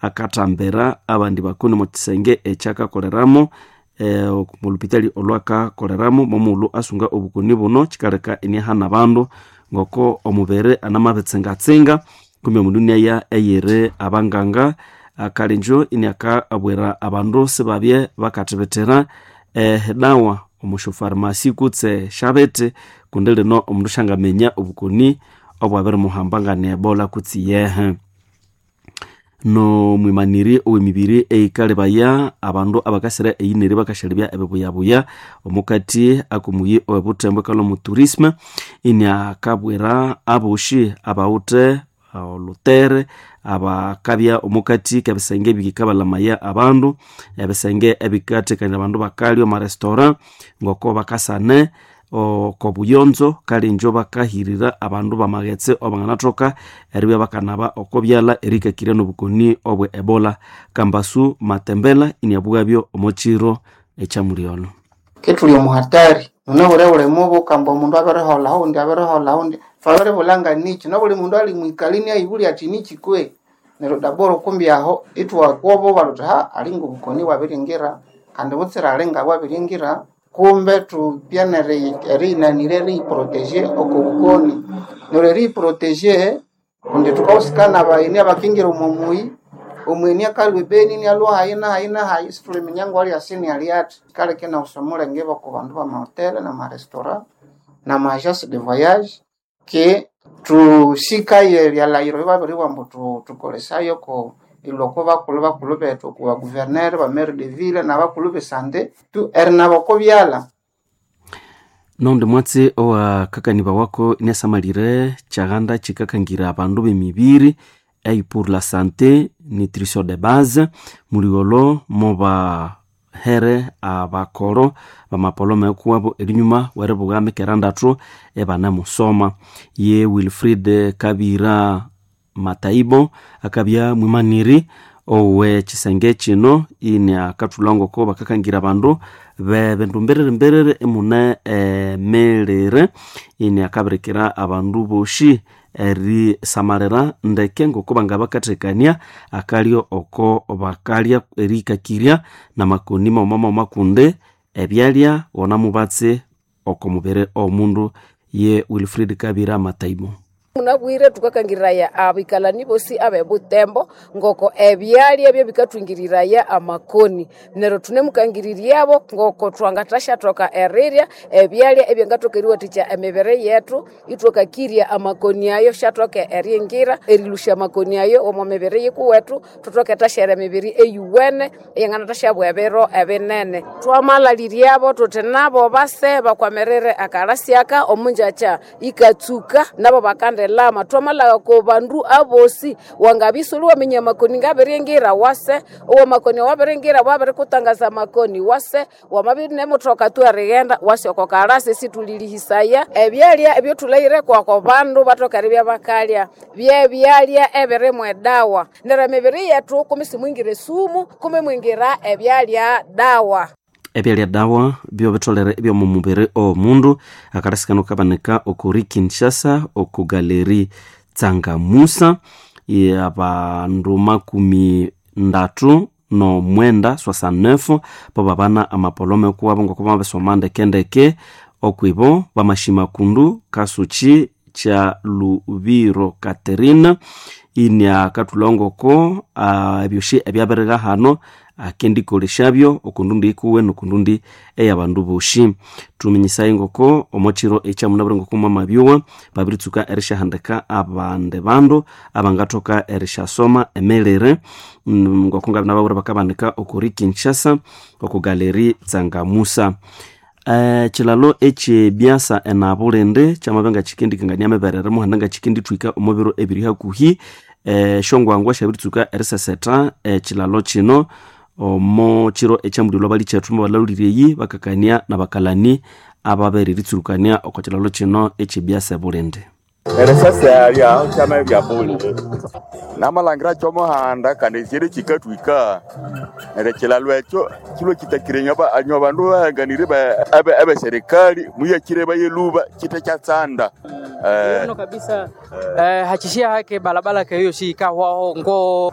Akatambira abandi bakoni omo kisenge ekyakakoleramo omulupitali olwakakoleramo momughulhu asunga obukoni buno kikaleka inihana abandu ngoko omubiri anamabitsingatsinga kumbe omundu iniaya eyiri abanganga. Akalinjo iniakabwira abandu sibabye bakathibitira edawa omusyofarumasi kutse syabiti kundi lino omundu syangaminya obukoni obwabirimuhamba ngani Ebola kutse yehe. Nomwimaniri owemibiri eyikalebaya abandu abakasira eyineri bakashalebya ebibuyabuya omukati akomuyi owebuthembo ekalha omu tourisme iniakabwira aboshi abawithe olhutere abakabya omukati kebisenge ebikabalamaya abandu ebisenge ebikathekanirya abandu bakalya omo restaurant ngoko bakasane okobuyonzo kalinjo bakahirira abandu bamaghetse abanganathoka eribya bakanaba oko byalha erikakirya nobukoni obwe Ebola. Kambasu Matembela iniabughabyo omo kiro ekyamulyolho. Kethuli omuhatari munabwire mubi kamba omundu abiriholha oundi abiriholha oundi thwabiribulha niki nobuli mundu ali mwikali inayibulya athi niki kwe neryo daboro kumbi aho ithwakwobo thuthi ha alinga obukoni bwabiringira kandi butsira alinga bwabiringira kumbe thupya eriyinanira eriyiproteje oko bukoni neryo eriyiproteje kundi thukahusikana abayeni abakingira omo muyi omweni akalhwa ebeni inialhwa hayi nahayi nahayi isithuliminya ngwali asini ali athi kaleka inawusa omulenge oko bandu bamahotela namarestaurant nama agence de voyage ke thusikaye ebyalhayiro ebyababiribugha ambu thukolesaye oko ilhwe oko bakulhu bakulhu bethu oko baguvernere ba maire de ville nabakulhu besante tu erinaba oko byalha. Noundi mwatsi owakakanibawako iniasamalire kyaghanda kikakangira abandu b'emibiri ei pour la santé nutrition de base muligholo mubahere abakoro bamapoloma ekuwabo erinyuma weribugha mikera ndathu ebanamusoma. Ye Wilfrid Kabira Mataibo akabya mwimaniri owe kisenge kino iniakathulha ngoko bakakangira abandu bebindu mbiriri mbiriri emune emirire iniakabirikira abandu boshi erisamalira ndeke ngoko bangabakathekania akalyo oko bakalya erihikakirya namakoni maghuma maghuma kundi ebyalya wona mubatsi oko mubiri owomundu. Ye Wilfrid Kabira Mataibo. Munabwire thukakangiriraya abikalani bosi abebutembo ngoko ebyalya byebikathungiriraya amakoni neryo thunemukangiririyabo ngoko thwangathasyathoka erirya ebyalya ebyangathoka eriwathikya emibiri yethu ithwakakirya amakoni ayo syathoke eringira erilhusya amakoni ayo omo mibiri yikuwethu thuthoke erithasyaghira emibiri eyuwene eyanganathasyabwa ebiro ebinene. Thwamalalhiryabo thuthi nabo base bakwamirire akalasi aka omunjakya ikatsuka nabo bakandi lama twamalagha ko bandu abosi wangabya isuli waminya amakoni ngabiringira wase owamakoni awabiringira wabirikutangaza amakoni wase wamabya nemuthoka tu erighenda wase oko kalasi isithulilihisaya ebyalya ebyothulhaghire kwako bandu bathoke eribya bakalya byebyalya ebirimu edawa neryo emibiri yethu kumi simwingira esumu kumi mwingira ebyalya dawa. Ebyalya dawa byobitholere ebyomu mubiri owomundu. Akalasi kano kabanika okuri Kinshasa oku galeri Tsangamusa abandu 39 69 bababana amapolome kuwabo ngoko bamabisoma ndekendeke okwibo bamashima kundu kasuchi kya Lubiro Katerina iniakathulha ngoko ebyoshi ebyabirigha hano akendikoleshabyo okundundi ikuwe nokundundi eyabandu boshi. Thuminyisaye ngoko omo kiro ekyamunabwire ngoko mwamabyuwa babiritsuka erisyahandika abandi bandu abangathoka erisyasoma emirire ngoko ngabinababwira bakabanika okuri Kinshasa oku galeri Tsangamusa. Ekilalo ekyebyasa enabulindi kyamabya ngakikendikangania emiberere muhanda ngakikendithwika omo biro ebiri hakuhi esyongwangwa syabiritsuka erisesetha ekilalo kino omo kiro ekyamulilo balikyethu mubalhalhulirye eyi bakakania nabakalani ababiritsurukania oko kilalo kino ekyebyasa ebulindi. Erisasya kyama byabuli namalangira kyomuhanda kandi kyiri kikathwika neryo ekilalo ekyo kilwe kitakire anywa bandu bahanganire abeserikali muyakire bayeluba kite kyatsanda. Kabisa hachishia hake balabala keyo shikahwaho ngo.